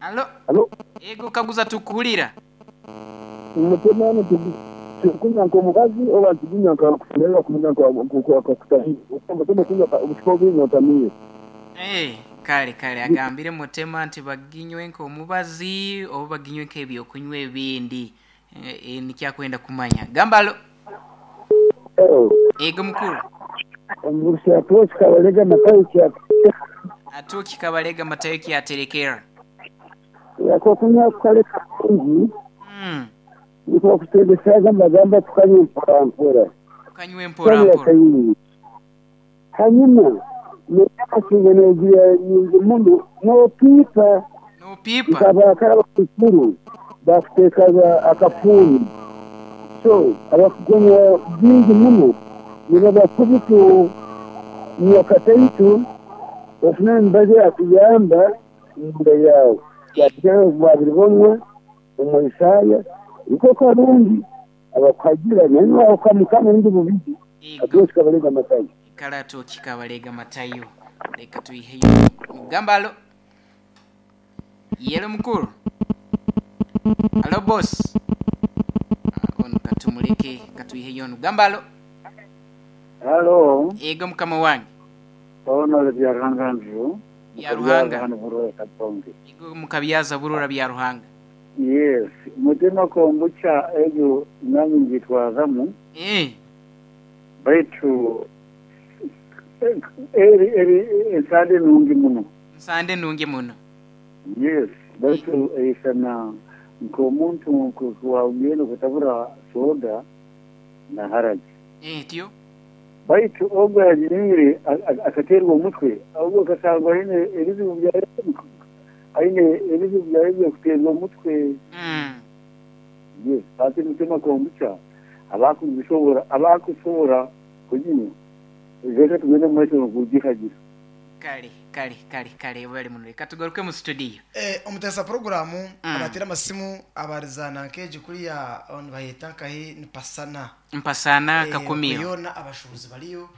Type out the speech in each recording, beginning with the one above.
Alo. Alo. Yego kaguza tukuhurira. Mutema nitugunywa nk'omubazi oba nitugunywa nka kusemererwa kunywa nk'akakutahire. Mutema kunywa obucupa obwingi otamiire. Eh, kale kale agambire Mutema nti baginywe nk'omubazi oba baginywe nk'ebyokunywa ebindi. Eh, eh, nikyo akwenda kumanya. Gamba alo. Yego mukuru. Omugurusi Atwoki Kabalega Matayo kyaterekera. Atwoki Kabalega Matayo kyaterekera. Akokunywa kukareka kurungi. Nikwo bakutwegyesaga nibagamba tukanywe mpora mpora. Tukanywe mpora mpora. Hanyuma n'amasinga nogira nyingi muno nopiipa. Nopiipa. Nk'abakara abakuru bakuteekaga akafuuni. So abakugunywa bingi muno nibaba kubi kunywa kataito ofune emibazi erakuyamba omunda yaawe. Yakugira ngu wabiribonwa omu Isaaya nikwo karungi abakuhagira nainwe wahuka Mukama obundi bubigi Atwoki Kabalega Matayo. Kale Atwoki Kabalega Matayo leka twiheyo Gamba alo. Yelo mukuru. Alo boss. Ah, ono katumuleke katwiheyo onu. Gamba alo. Halo. Yego mukama wange. Ono Byaruhanga Andrew. Byaruhanga. Hano Burora Katonge. Yego mukabyaza Burora Byaruhanga. Yes, Mutema kombucha egyo nanye ngitwazamu. Eh. Baitu eri eri ensande nungi muno. Nsande nungi muno. Yes, baitu eisana nk'omuntu nkuwagenda kutabura soda na haragi. Etyo. Baitu ogwo yaginywire akaterwa omutwe, ogwo akasangwa aine ebizibu bya aine ebizibu byawe by'okuterwa omutwe. Yes, hati Mutema kombucha abakugisobora abakusobora kuginywa reka tugende omu maisho n'okugihagira. Kale kale kale kale webale muno leka tugaruke mu studio. Eh, omuteesa puroguraamu abateera amasimu abarizaana nk'egi kuriya nibayeeta nkahi ni Pasana. Mpasana Eh, Kakumiro. yoona abashuubuzi bariyo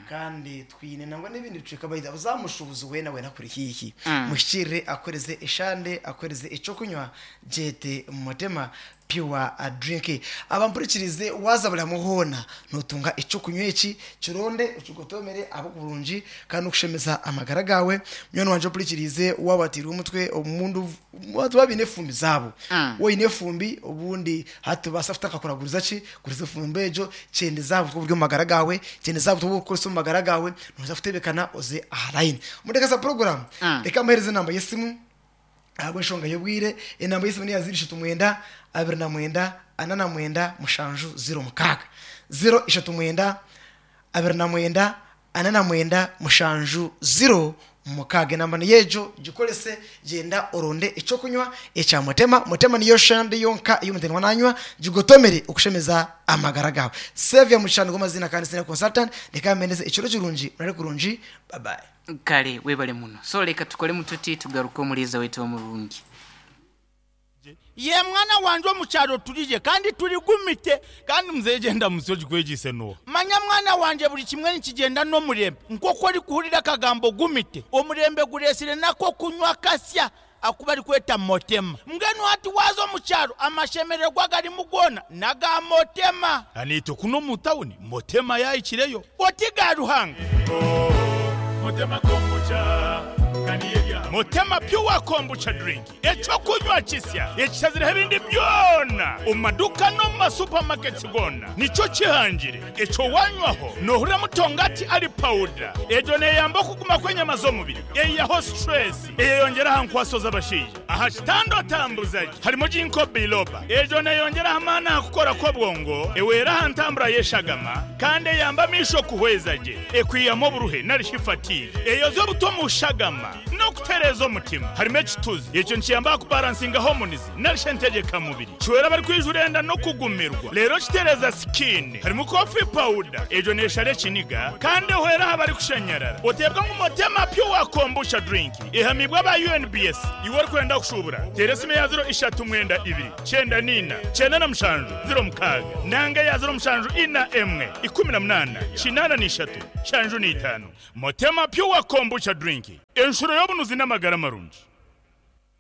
kandi twine nangwa n'ebindi bicweka baida za mushuubuzi weena weena kuri haihi muhikiirire akuheereze eshande akuheereze eky'okunywa gyete Mutema Pure Drink. Abampurikirize waaza buri hamwe hoona nootunga eky'okunywa eki, kironde okigotomere ahabw'oburungi kandi n'okushemeza amagara gaawe. Munywani wangye ompurikiriize waaba wateirwe omutwe obundi abantu baaba baine efumbi zaabo. Waaba oine efumbi obundi hati tobaasa kutaakakuraguriza ki, guriza efumbi egyo, kyendeza aha butwa oburi omu magara gaawe, kyendeza aha butwa obu orikukoresa omu magara gaawe, nooza kutebeekana oze aha layini. Omuteekateesi wa puroguraamu, reka mbaheereze enamba y'esimu. Ahabw'enshonga y'obwire, enamba y'esimu n'eya 039 29 49 7 06. 039 29 49 7 06. Enamba niyo egyo, gikorese, gyenda oronde eky'okunywa ekya Mutema. Mutema niyo shande yonka ei omuntu arikuba nanywa, gigotomere okushemeza amagara gaawe. Saviour Mugisha nigo maziina kandi Senior Consultant, reka mbendeze ekiro kirungi, murare kurungi, bye bye. Kale webale muno. So leka tukolemu tuti tugaruke omuliiza waitu omurungi. Ye mwana wangye omu kyaro turigye kandi turigumite. Kandi muzeeyi gyenda musyo ogikwegyeise n'oha? Manya mwana wangye buri kimwe nikigyenda n'omurembe. Nk'oku orikuhurira akagambo gumite, omurembe gureetsire n'ak'okunywa kasya aku barikweta Motema. Mbwenu hati waaza omu kyaro amashemererwa agarimu goona n'aga Motema. Naitwe kunu omu tawuni Motema yaahikireyo. Oti ga Ruhanga. Motema Pure Kombucha Drink, eky'okunywa kisya ekishazireho ebindi byona omu maduuka n'omu ma supermarkets goona nikyo kihangire. Ekyo wanywaho nohurira mutongati ari pawuda. Egyo neyamba okuguma kw'enyama z'omubiri, eyihaho stress. Eyeyongyera aha nkwaso z'abashaija. Aha kitanda otambuza gye harimu Ginkgo biloba. Egyo neeyongyera aha maani aha kukora kw'obwongo, ehwera aha ntambura y'eshagama, kandi eyamba amaisho kuhweza gye. Ekwihamu oburuhe nari shi fatigue. Eyozya obutwa omu shagama n'okutereeza omutima. Harimu ekituzi. Ekyo nikiyamba aha kubaransinga hormones nari shi entegyekamubiri. Kihwera abarikwijura enda n'okugumirwa. Reero kitereeza sikiini. Harimu coffee powder, egyo neeshara ekiniga kandi ehwera aha barikushanyarara. Oteebwa ngu Motema Pure Kombucha Drink ehamiibwe aba UNBS. Iwe orikwenda kushuubura, teera esimu eya ziro ishatu mwenda ibiri, kyenda n'ina, kyenda na mushanju, ziro mukaaga nanga eya ziro mushanju ina emwe, ikumi na munaana, kinaana na ishatu, nshanju na itaano. Motema Pure Kombucha Drink, enshuro y'obunuzi n'amagara marungi.